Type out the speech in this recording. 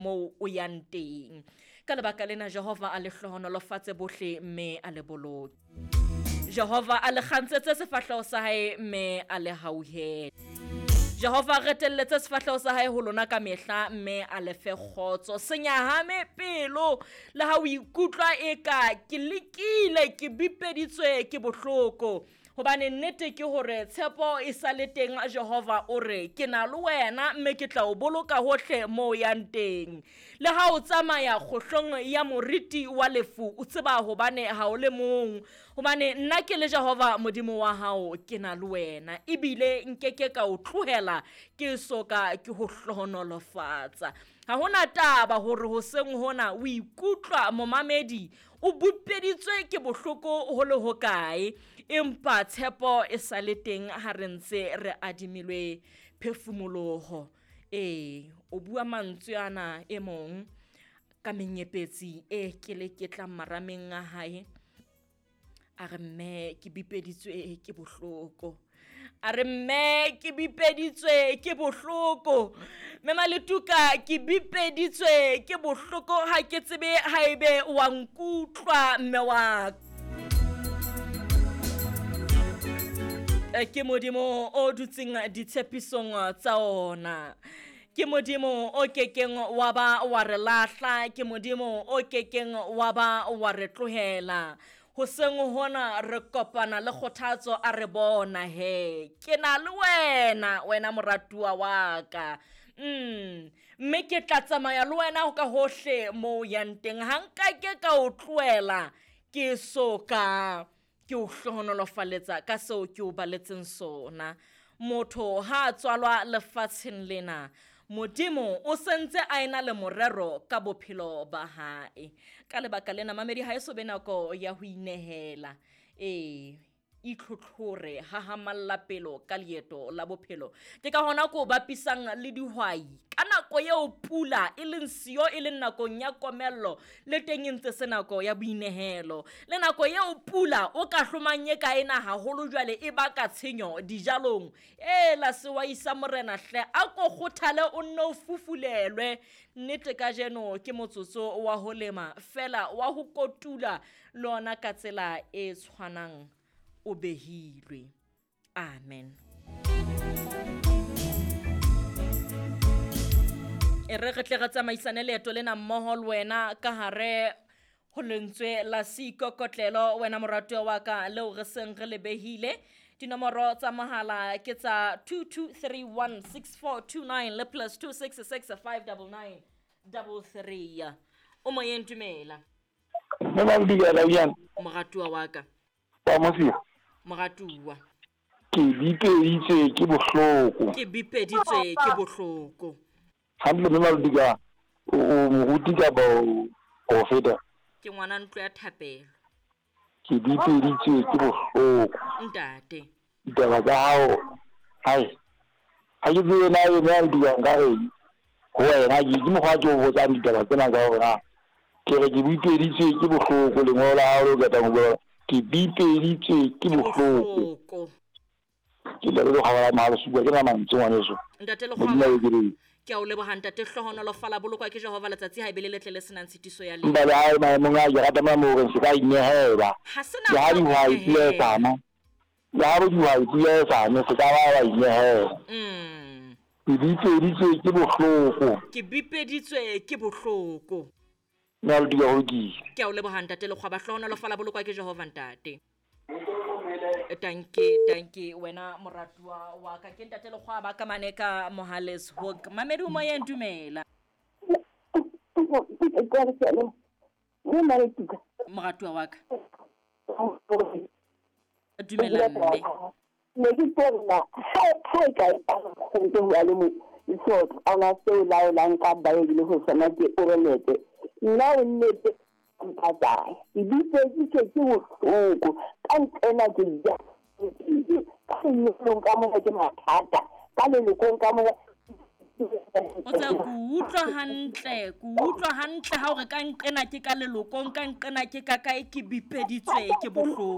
Moo o yang teng. Ka lebaka lena Jehova a le hlohonolofatse bohle mme a le boloke. Jehova a le kgantshetse sefahleho sa hae mme a le hauhele. Jehova a retelletse sefahleho sa hae ho lona ka mehla mme a le fe kgotso. Se nyahame pelo le ha o ikutlwa eka ke lekile, ke bipeditswe ke bohloko. Hobane nnete ke hore tshepo e sa le teng, Jehova o re, Ke na le wena mme ke tla o boloka hohle moo o yang teng. Le ha o tsamaya kgohlong ya moriti wa lefu, o tseba hobane ha o le mong, hobane nna ke le Jehova Modimo wa hao ke na le wena, ebile nke ke ka o tlohela ke so ka ke ho hlohonolofatsa. Ha ho na taba hore hoseng hona o ikutlwa momamedi o bupeditswe ke bohloko ho le hokae, empa tshepo e sa le teng ha re ntse re adimilwe phefumoloho. Ee, o bua mantswe ana e mong ka menyepetsi e keleketlang marameng a hae. A re mme ke bipeditswe ke bohloko. A re mme ke bipeditswe ke bohloko. Mme Maletuka ke bipeditswe ke bohloko ha ke tsebe haebe wa nkutlwa mme wa Ke Modimo o dutseng ditshepisong tsa ona. Ke Modimo o kekeng wa ba wa re lahla, ke Modimo o kekeng wa ba wa re tlohela. Hoseng hona re kopana le kgothatso a re bona he ke na le wena, wena moratuwa wa ka. Mme ke tla tsamaya le wena ka hohle mo o yang teng. Ha nka ke ka o tlohela ke so ka ke o hlohonolofaletsa ka seo ke o baletseng sona. Motho ha a tswalwa lefatsheng lena, Modimo o sentse a ena le morero ka bophelo ba hae. Ka lebaka lena, mamedi, ha e so be nako ya ho inehela. Ee, itlhotlhore, hahamalla pelo ka leeto la bophelo. Ke ka hona ko bapisang le dihwai. Ka nako eo pula e leng siyo, e leng nakong ya komello, le teng e ntse se nako ya boinehelo. Le nako eo pula o ka hlomang e ka ena haholo jwale e baka tshenyo dijalong. Ela sewai sa morena hle, a ko kgothale o nne o fufulelwe. Nnete kajeno ke motsotso wa ho lema fela wa ho kotula le ona ka tsela e tshwanang o behilwe. Amen. E re re tle re tsamaisane leeto lena mmoho le wena ka hare ho lentswe la seikokotlelo, wena moratuwa wa ka, leo re seng re le behile. Dinomoro tsa mohala ke tsa 22316429 le plus 26659933. O moyeng, dumela. Mme Mabidikela, Ian. Moratuwa wa ka. Wa Mosia. Moratuwa. Ke bipeditswe ke bohloko. Ke bipeditswe ke bohloko. Hantle mme Mabidika, o moruti kapa o profeta? Ke ngwana ntlo ya thapelo. Ke bipeditswe ke bohloko. Ntate. Ditaba tsa hao, hai. Ha ke tsebe na ene a dikang ka reng ho wena, ke ke mokgwa ke o botsang ditaba tsena ka hore na ke re ke bipeditswe ke bohloko, lengolo la hao le o qetang ho bua, ke bipeditswe ke bohloko. Ke Ntate Lekgwaba la Mahalo Supa, ke na mantswe ngwaneso. Ntate Modimo a Lekgwaba, ekeletse. ke a o leboha ntate, hlohonolofala, bolokwa ke Jehova letsatsi ha e be le letle le senang tshitiso ya letho. Empa le ha e maemong a ke rata mona moo o reng se ka inehela. Ha se Le nako ha ya ho dihwai pula e inehela. sa na. Le ha dihwai pula e sa ne, se ka ba wa inehela. Ke bipeditswe ke bohloko. Ke bipeditswe ke bohloko. Mme a lo dula ho lokile. Ke a o leboha ntate Lekgwaba, hlohonolofala, bolokwa ke Jehova ntate. Tanke, tanke wena moratuwa wa ka. Ke ntate Lekgwaba ka mane ka Mohales Hoek. Mamedi o moyeng, dumela. Moratuwa wa ka. Dumela mme. Ne ke tsena ha ha e ka go ntse ho le mo so ana seo laolang ka Bible ho sona ke orelete nna o nnete mpatsa ke bipeditswe ke bohloko ka nqena ke ja ka lenyalong ka mona ke mathata ka lelokong ka mona. O tsa ku utlwa hantle, ku utlwa hantle ha o re ka nqena ke ka lelokong, ka nqena ke ka kae, ke bipeditswe ke bohloko.